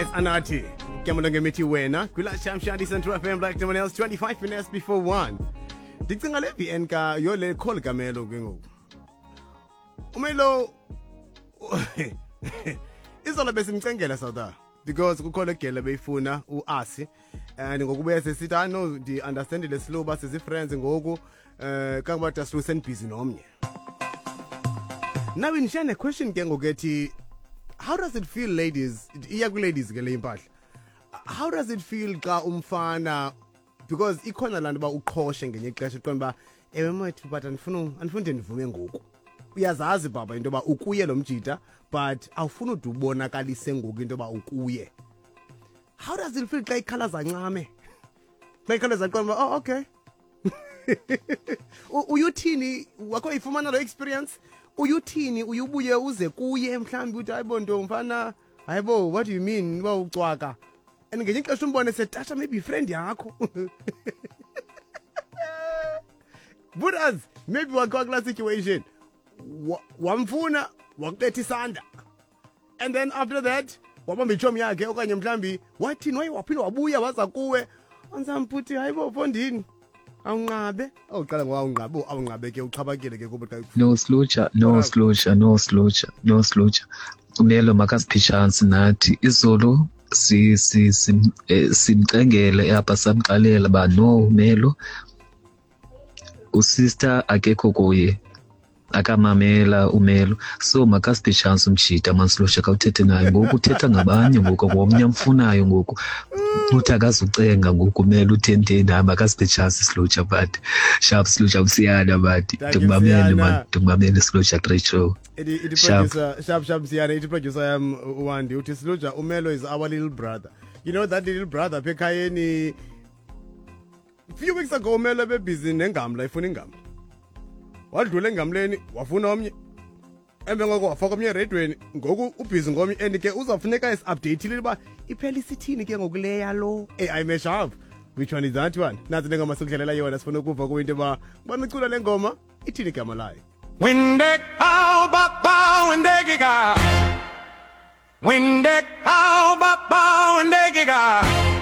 It's Anathi. Kemolo ngemithi wena. Kwila Sham Shandi Central FM like no one else, 25 minutes before 1. Ndicinga le VN ka yo le call kamelo ke ngoku. Umelo izolo besimcengela South because kukho le gele beyifuna uAsi and ngokubuya sesithi I know ndi understand le slow ba sisi friends ngoku kangoba daslu senibhizi nomnye. Now in share question ke ngoku ethi, how does it feel, ladies? Iya ku ladies ke le impahla. How does it feel xa umfana, because ikhona laa nto uba uqhoshe ngenye ixesha, uqonda uba ewe mwethu, but andifuni ndivume ngoku. Uyazazi baba into yoba ukuye lo mjita, but awufuni ude ubonakalise ngoku into yoba ukuye. How does it feel xa ikhala zancame, xa ikhala zaqonda uba oh okay? Uyuthini wakho ifumana lo experience? Uyuthini? Uyubuye uze kuye mhlawumbi uthi, hayibo nto mfana, hayibo, what do you mean uba ucwaka? And ngenye ixesha umbone setasha maybe ifriend yakho. Buras maybe wakho kulaa situation, wamfuna wakubetha isandla, and then after that wabamba itshomi yakhe, okanye mhlawumbi wathini, waye waphinde wabuya waza kuwe ansamputhi, hayibo fondini, awunqabe awuqala ngowawunqabe, awunqabe ke uxhaphakile ke kuba xa No Slucha, no Slucha, no Slucha, no Slucha. Umelo makasiphe chance nathi. Izolo si si simcengele apha, samxelela ba no Melo, usister akekho kuye, akamamela umelo, so makasiphe chance umjita mansilusha. Khawuthethe naye ngoku, uthetha ngabanye ngoku, ngomnye amfunayo ngoku, uthi akazucenga ngoku umelo uthenteni. Hayi, makasiphe chance Slucha, but sharp Slucha msiyana, but Thank you, ndikumamele Msiyana. Man, ndikumamele Slucha, great show. Ithi Sharp. producer, sharp sharp Msiyana, ithi producer yam uWandi uthi, Sluja, umelo is our little brother. You know that little brother apha ekhayeni. Few weeks ago umelo ebebhizi nengamla, ifuna ingamla. Wadlula engamleni wafuna omnye. Emva ngoko wafaka omnye eredweni, ngoku ubhizi ngomnye, and ke uzawufuneka esi-update-ile uba iphela isithini ke ngoku leya lo. Hey, I'm sharp. Which one is that one? Nazi le ngoma sikudlalela yona, sifuna ukuva kuwe into yoba banicula le ngoma ithini igama layo. Windek how ba ba windekika. Windek how ba ba windekika.